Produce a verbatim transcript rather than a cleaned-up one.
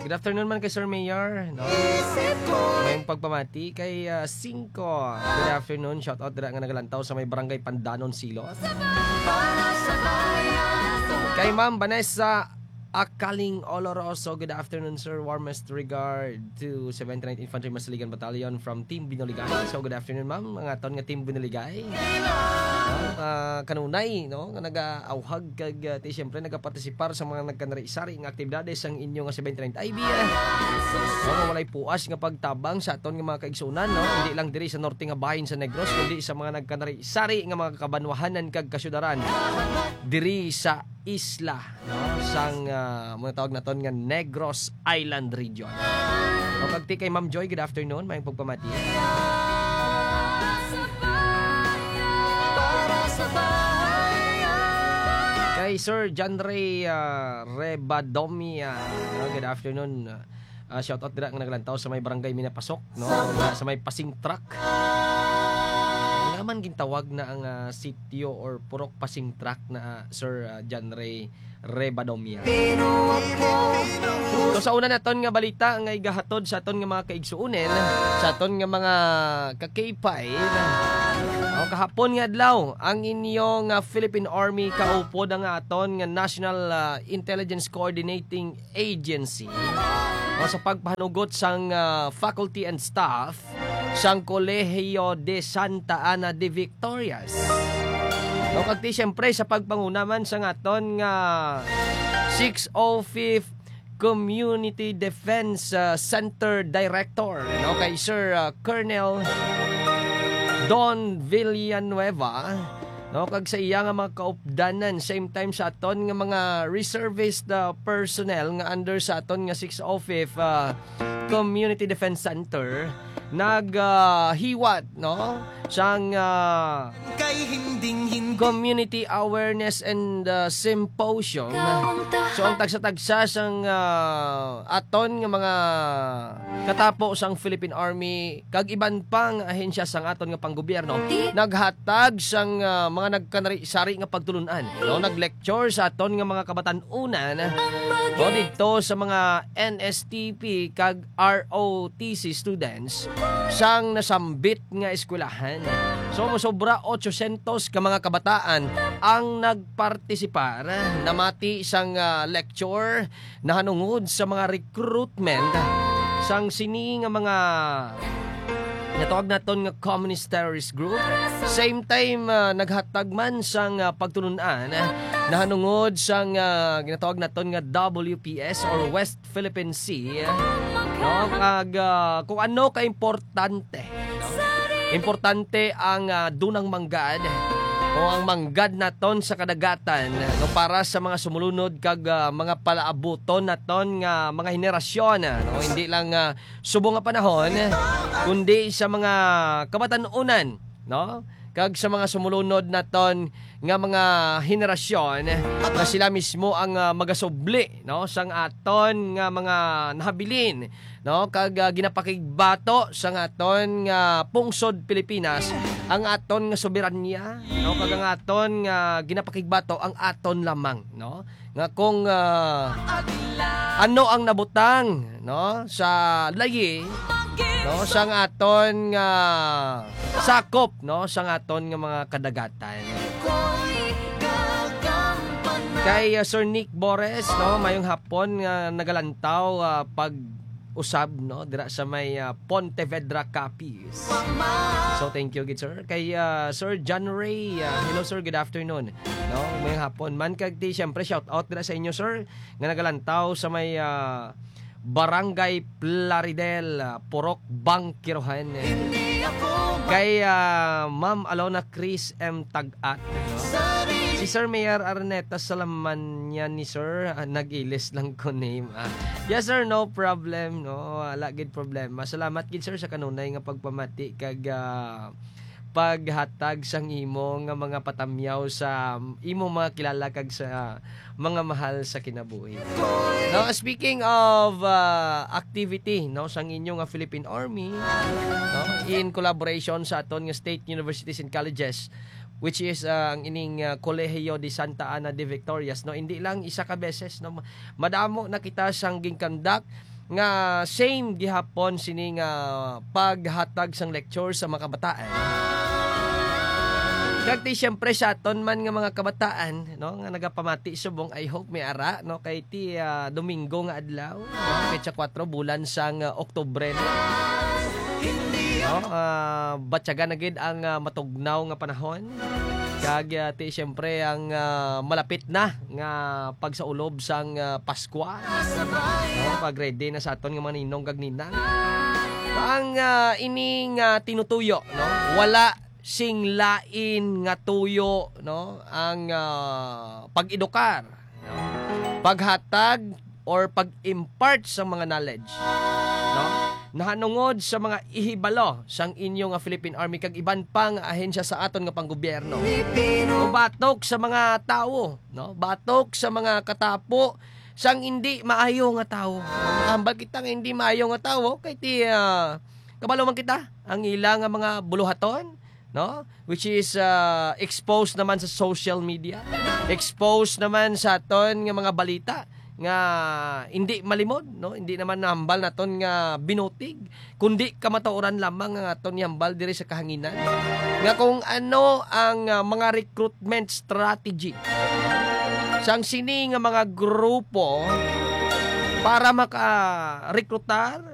Good afternoon man kay Sir Mayor, no? May pagpamati kay, ah, Cinco. Good afternoon. Shout out dira nga nagalantaw sa may Barangay Pandanon, Silos. Kay Ma'am Vanessa Akaling Oloroso, good afternoon, sir. Warmest regard to seventy-ninth Infantry Masiligan Battalion from Team Binuligay. So, good afternoon, ma'am. Mga aton nga Team Binuligay. No? Ah, kanunay, no? Nga nag-auhag kag, ah, ti, siyempre, nagapartisipar sa mga nagkanari-sari nga aktibidades sang inyo nga seventy-ninth I B, ah. No, nga walay puas nga pagtabang sa aton nga mga kaigsunan, no? Hindi lang diri sa norte nga bahin sa Negros, kundi sa mga nagkanari-sari nga mga kabanwahanan kag kasyudaran diri sa isla, no? Sang, ah, mga tawag naton nga Negros Island Region. O, kag ti kay Ma'am Joy, good afternoon. May pagpamati. Kay Sir John Ray, ah, Rebadomia, no? Good afternoon. Ah, shout out dira nga naglantaw sa may barangay Minapasok, no? Nga sa may Pasing Truck. Nga man gintawag na ang, ah, sitio or purok Pasing Truck na, ah, Sir, ah, John Ray Rebadomia. So, sa una naton nga balita nga igahatod sa aton nga mga kaigsuonen, sa aton nga mga ka-K five, o, kahapon nga adlaw, ang inyo nga Philippine Army kaupod ang aton nga National, ah, Intelligence Coordinating Agency, o, sa pagpahanugot sang, ah, faculty and staff sang Colegio de Santa Ana de Victorias. No, kag ti, siyempre, sa pagpanguna man sang aton nga six oh fifth Community Defense, ah, Center Director, no, kay Sir, ah, Colonel Don Villanueva, no, kag sa iya nga mga kaupdanan, same time sa aton nga mga reservist, ah, personnel nga under sa aton nga six oh fifth, ah, Community Defense Center, nag, ah, hiwat, no, sang, ah, Kay hinding-hinding. Community Awareness and, ah, Symposium. So, ang tagsa-tagsa sang, ah, aton nga mga katapo sang Philippine Army kag iban pang ahensya sang aton nga panggobyerno naghatag sang, ah, mga nagkanari-sari nga pagtulun-an, no? Nag-lecture sa aton nga mga kabatan-unan, no, didto sa mga N S T P kag R O T C students sang nasambit nga eskwelahan. So, mosobra ochocientos ka mga kabataan ang nagpartisipar, namati sang, ah, lecture nahanungod sa mga recruitment sang sini nga mga natawag naton nga communist terrorist group. Same time, ah, naghatag man sang, ah, pagtulun-an, ah, nahanungod sang, ah, ginatawag naton nga W P S or West Philippine Sea, no? Kag, ah, kung ano ka importante, no? Importante ang, ah, dunang manggad o ang manggad naton sa kadagatan, no? Para sa mga sumulunod kag, ah, mga palaabuton naton nga mga henerasyon, no? Hindi lang, ah, subong nga panahon, kundi sa mga kabatan-unan, no? Kag sa mga sumulunod naton nga mga henerasyon, nga sila mismo ang, ah, magasubli, no, sang aton nga mga nahabilin, no, kag, ah, ginapakigbato sang aton nga pungsod Pilipinas ang aton nga soberanya, no, kag ang aton nga ginapakigbato ang aton lamang, no, nga kung, ah, ano ang nabutang, no, sa layi, no, sang aton nga sakop, no, sang aton nga mga kadagatan. Kay, uh, Sir Nick Bores, no, mayong hapon nga nagalantaw, uh, pag-usab, no, dira sa may, uh, Pontevedra, Capiz. So, thank you gid, sir. Kay, uh, Sir John Ray, uh, hello, sir, good afternoon. No, mayong hapon man. Kag ti, siyempre, shout out dira sa inyo, sir, nga nagalantaw sa may, uh, Barangay Plaridel, ah, Purok Bangkirohan. Kay, ah, Ma'am Alona Chris M Tag-at, no? Si Sir Mayor Arneta Salaman niya ni Sir, ah, nag-ilis lang ko name, ah. Yes, sir, no problem, no? Wala gid problema. Salamat gid, sir, sa kanunay nga pagpamati kag, ah, paghatag sang imo nga mga patamyaw sa imo mga kilala kag sa mga mahal sa kinabuhi. Now, speaking of, uh, activity, no, sang inyo nga Philippine Army, no, in collaboration sa aton nga state universities and colleges, which is, uh, ang ining, uh, Colegio de Santa Ana de Victorias, no, hindi lang isa ka beses, no, madamo na kita sang ginkandak nga same gihapon sini nga paghatag sang lecture sa mga kabataan. Kag ti siyempre sa aton man nga mga kabataan, no, nga nagapamati subong, I hope may ara, no, kay ti, ah, Domingo nga adlaw, no, petsa kuwatro, bulan sang, ah, Oktubre, no. No, ah, batyagan na gid ang, ah, matugnaw nga panahon. Kag, ah, ti siyempre ang, ah, malapit na nga pagsaulob sang, ah, Paskwa. No, pag-ready na sa aton nga mga ninong kag ninang. Ang, ah, ini nga tinutuyo, no? Wala sing lain nga tuyo, no? Ang, ah, pag-edukar, no? Paghatag or pag-impart sa mga knowledge, no? Nahanungod sa mga ihibalo sang inyo nga Philippine Army kag iban pa nga ahensya sa aton nga panggobyerno. O batok sa mga tawo, no? Batok sa mga katapo sang indi maayo nga tawo. Hambal kita nga indi maayo nga tawo kay ti, ah, kabalo man kita ang ila nga mga buluhaton, no? Which is, ah, exposed naman sa social media, exposed naman sa aton nga mga balita nga hindi malimod, no? Hindi naman nahambal naton nga binutig, kundi kamatuoran lamang nga aton ihambal diri sa kahanginan nga kung ano ang, ah, mga recruitment strategy sang sini nga mga grupo para maka-rekrutar